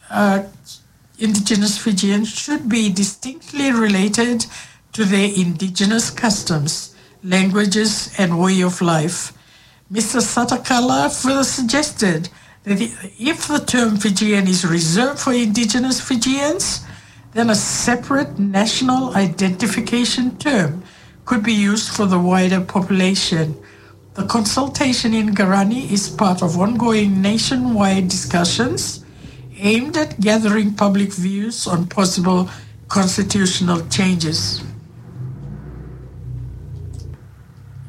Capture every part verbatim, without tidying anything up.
uh, indigenous Fijians should be distinctly related to their indigenous customs, languages, and way of life. Mister Satakala further suggested that i- if the term Fijian is reserved for indigenous Fijians, then a separate national identification term could be used for the wider population. The consultation in Garani is part of ongoing nationwide discussions aimed at gathering public views on possible constitutional changes.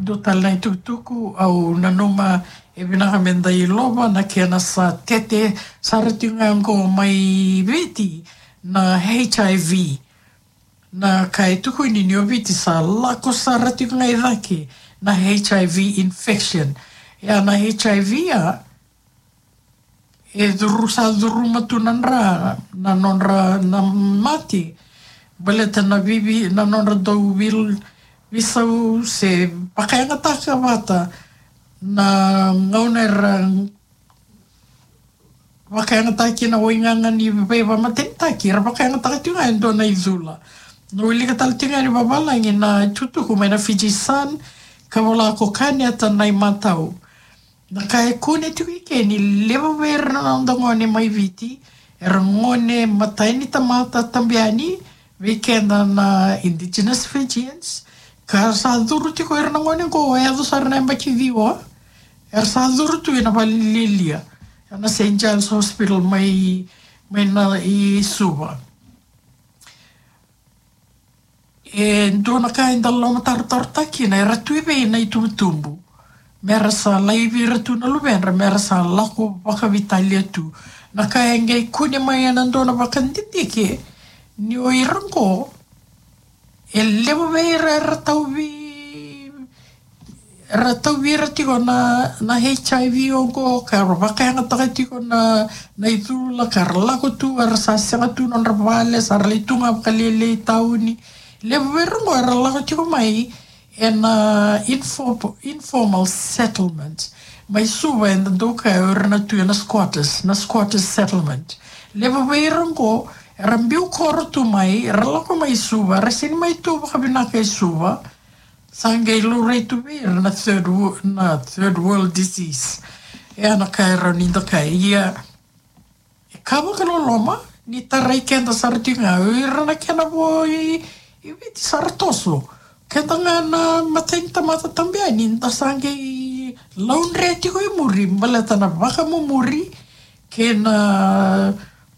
Dua tale na itukutuku au nanuma e vinaka me da ilova na kena sa tete sara tiko ga qo mai Viti na H I V. Na ka e tukuni ni o Viti sa lako sara tiko ga i cake na H I V infection. Ia na H I V a e curu, sa curuma tu na dra, na nodra na mate. Baleta na vivi, na nodra dau vil, visau se vakayagataka vata na gauna era vakayagataki na waigaga ni veivamatenitaki, era vakayagataka tiko ga e dua na icula. Na wilika tale tiko ga ni vavalagi na itukutuku mai na Fiji Sun, ka vola ko Kaneta Naimatau. Na ka e kune tiko i ke ni levu vei ira na noda gone mai Viti, era gone matai ni tamata tabu yani vei keda na indigenous Fijians, ka sa curu tiko ira na gone qo e yaco sara na yabaki ciwa, era sa curu tu ena valilialia, ena Saint Giles Hospital mai, mai na i Suva. E dua na ka eda lomatarotarotaki kina, era tu i vei na itubutubu, mera sa laivi ira tu na luvedra, mera sa lako vakaveitalia tu. Na ka e qai kune mai ena dua na vakadidike ni o ira qo, e levu vei ira era tauvi, era tauvi ira tiko na, na H I V oqo, ka ra vakayagataka tiko na, na icula, ka ra lako tu, era sa sega tu nodra vale, sa ra lai tu ga vakalailai tauni. Levu vei ira qo era lako tiko mai ena info-, informal settlement. Mai Suva eda dau kaya o ira na tu ena squatters, na squatters settlement. Levu vei ira qo era biu koro tu mai, era lako mai Suva, era sega ni mai tu vakavinaka i Suva. Sa qai laurai tu vei ira na third wo-, na third world disease. E a na ka e rawa ni da kaya. Ia, e ka vakaloloma ni tarai keda sara tiko ga o ira na kena vo i, i Viti sa ra toso. Keda ga na matai ni tamata tabu yani da sa qai laudre tiko i muri, baleta na vakamumuri kei na,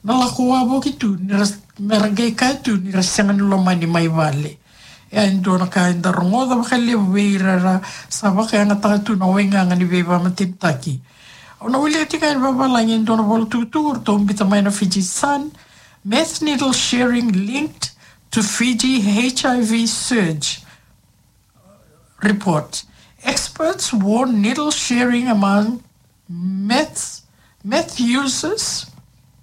na lako wavoki tu, ni ra, mera qai kaya tu ni ra sega ni lomani mai vale. E a dua na ka eda rogoca vakalevu vei ira era sa vakayagataka tu na waigaga ni veivamatenitaki. Au na wilika tiko ga e vavalagi e dua na vola tukutuku eratou biuta mai na Fiji Sun. Meth needle sharing linked to Fiji H I V surge. Report. Experts warn needle sharing among meth, meth users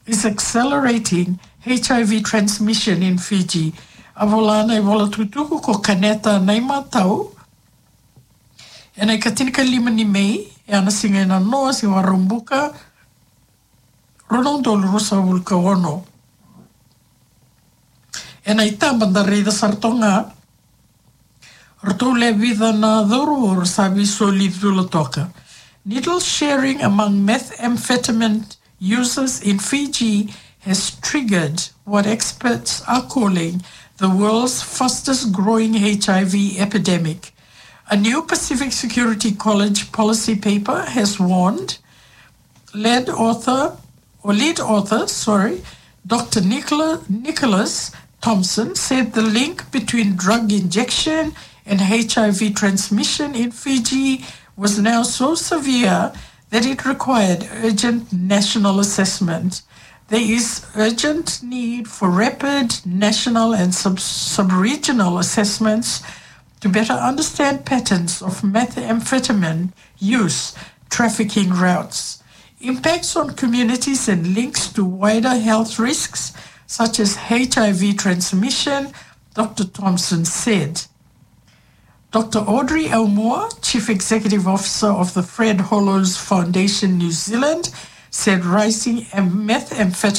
is accelerating H I V transmission in Fiji. A vola na ivola tukutuku ko Kaneta Naimatau. Ena ikatinikalima ni May, e a na siga e nanoa, siga Vakaraubuka, rua na udolu ruasagavulu ka ono. Ena itaba da raica sara toka ga, ratou lewe vica na cauravou sa veisoli cula toka. Needle sharing among methamphetamine users in Fiji has triggered what experts are calling the world's fastest growing H I V epidemic. A new Pacific Security College policy paper has warned. Lead author, or lead author, sorry, Doctor Nicola-, Nicholas Thompson said the link between drug injection and H I V transmission in Fiji was now so severe that it required urgent national assessment. There is urgent need for rapid national and sub-, sub-regional assessments to better understand patterns of methamphetamine use, trafficking routes, impacts on communities and links to wider health risks such as H I V transmission, Doctor Thompson said. Doctor Audrey Aumua, Chief Executive Officer of the Fred Hollows Foundation New Zealand, said rising em-, methamphetamine